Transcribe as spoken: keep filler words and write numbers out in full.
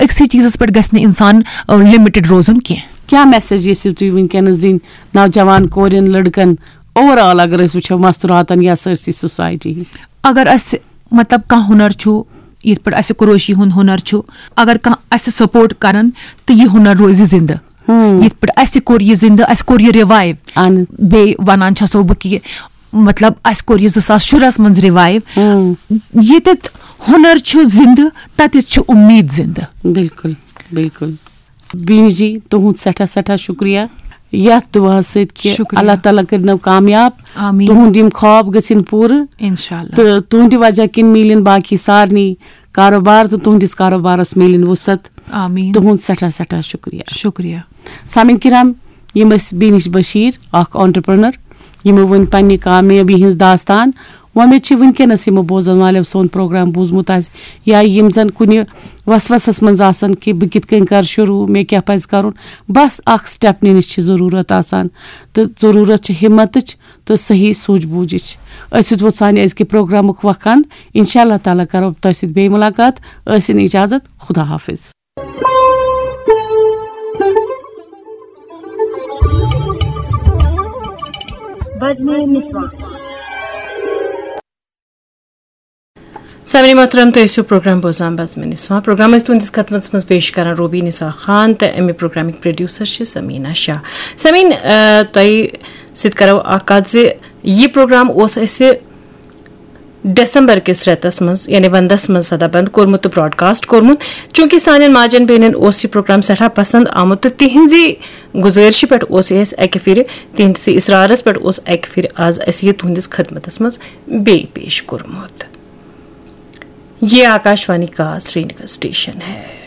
أکسٕے چیٖزَس پٮ۪ٹھ گژھِ نہٕ اِنسان لِمِٹِڈ روزُن کینٛہہ۔ کیٛاہ میسیج یژھِو تُہۍ وٕنکیٚنَس دِنۍ نوجوان کورٮ۪ن، لٔڑکَن، اوور آل اگر أسۍ وٕچھو مستوٗراتَن یا سٲرسٕے سوسایٹی؟ اگر اَسہِ مطلب کانٛہہ ہُنر چھُ، یِتھ پٲٹھۍ اَسہِ کروشی ہُنٛد ہُنر چھُ، اگر کانٛہہ اَسہِ سپورٹ کَرَن تہٕ یہِ ہُنر روزِ زِندٕ۔ یِتھ پٲٹھۍ اَسہِ کوٚر یہِ زِندٕ، اَسہِ کوٚر یہِ رِوایِو۔ اہن۔ بیٚیہِ وَنان چھَسو بہٕ کہِ مطلب اَسہِ کوٚر یہِ زٕ ساس شُرہَس منٛز رِوایِو۔ ییٚتٮ۪تھ ہُنر چھُ زِندٕ، تَتٮ۪تھ چھُ اُمید زِندٕ۔ بِلکُل، بِلکُل۔ بیٖنی جی، تُہُنٛد سٮ۪ٹھاہ سٮ۪ٹھاہ شُکریہ یَتھ دُعاہَس سۭتۍ کہِ شُکریہ۔ اللہ تعالیٰ کٔرِنو کامیاب۔ آمیٖن۔ تُہُنٛد یِم خواب گٔژھِنۍ پوٗرٕ۔ اِنشاء اللہ۔ تہٕ تُہٕنٛدِ وجہ کِنۍ میلن باقی سارنٕے کاروبار تہٕ تُہٕنٛدِس کاروبارَس میلن وُسعت۔ آمیٖن۔ تُہُنٛد سٮ۪ٹھاہ سٮ۪ٹھاہ شُکریہ۔ شُکریہ۔ سامعیٖن کرام، یِم ٲسۍ بیٖنی بشیٖر، اکھ آنٹرپرنر، یِمو ؤنۍ پننہِ کامیٲبی ہٕنٛز داستان۔ وۄمید چھِ وٕنکیٚنس یِمو بوزن والٮ۪و سون پروگرام بوٗزمُت آسہِ یا یِم زن کُنہِ وسوسس منٛز آسن کہِ بہٕ کِتھ کٔنۍ کرٕ شروٗع، مےٚ کیٛاہ پزِ کرُن۔ بس اکھ سٹیپ نِنٕچ چھِ ضروٗرت آسان تہٕ ضروٗرت چھِ ہمتٕچ تہٕ صحیح سوٗجھ بوٗجھٕچ۔ أسۍ سۭتۍ ووت سانہِ أزکہِ پروگرامُک وقت اند۔ انشاء اللہ تعالیٰ کرو تۄہہِ سۭتۍ بیٚیہِ مُلاقات۔ ٲسِن اجازت۔ خدا حافظ۔ بزمِ نسواں۔ سامعین محترم، تُہۍ ٲسِو پروگرام بوزان بزمِ نسواں۔ پروگرام ٲسۍ تُہنٛدِس خدمتس منٛز پیش کران روبی نثار خان تہٕ اَمہِ پروگرامٕکۍ پروڈیوسر چھِ سمیٖنا شاہ۔ سمیٖن، آ، تۄہہِ سۭتۍ کرو اکھ کتھ زِ یہِ پروگرام اوس اَسہِ ڈسمبر کِس رٮ۪تس منٛز، یعنی ونٛدس منٛز سدا بند کوٚرمُت تہٕ براڈکاسٹ کوٚرمُت۔ چوٗنٛکہِ سانٮ۪ن ماجن بیٚنٮ۪ن اوس یہِ پروگرام سٮ۪ٹھاہ پسنٛد آمُت تہٕ تِہنٛزِ گُزٲرشہِ پٮ۪ٹھ اوس یہِ اَسہِ اَکہِ پھِرِ، تِہنٛدِسٕے اصرارس پٮ۪ٹھ اوس اَکہِ پھِرِ آز اَسہِ یہِ تُہنٛدِس خدمتس منٛز بیٚیہِ پیش کوٚرمُت۔ یہ آکاشوانی کا سرینگر اسٹیشن ہے۔